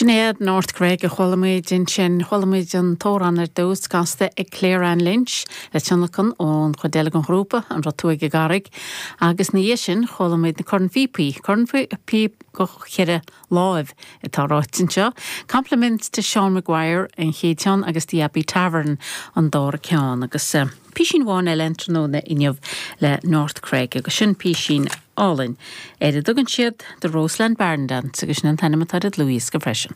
Sinéad North Cregg a chuala muid ansin. Chuala muid an t-amhrán ar dtús, casta ag Claire Ann Lynch, le tionlacan ón chuid eile den ghrúpa, An Raibh Tú ag an gCarraig? Agus ina dhiaidh sin, chuala muid na cornphíopaí, cornphíop go cheithre láimh atá ráite anseo. Compliments to Sean Maguire an chéad cheann agus The Abbey Tavern an dara ceann. Agus písín amháin eile an tráthnóna inniu le North Cregg agus sin písín álainn ar a dtugann siad The Roseland Barn Dance agus sin an t-ainm atá ar an dlúthdhiosca freisin.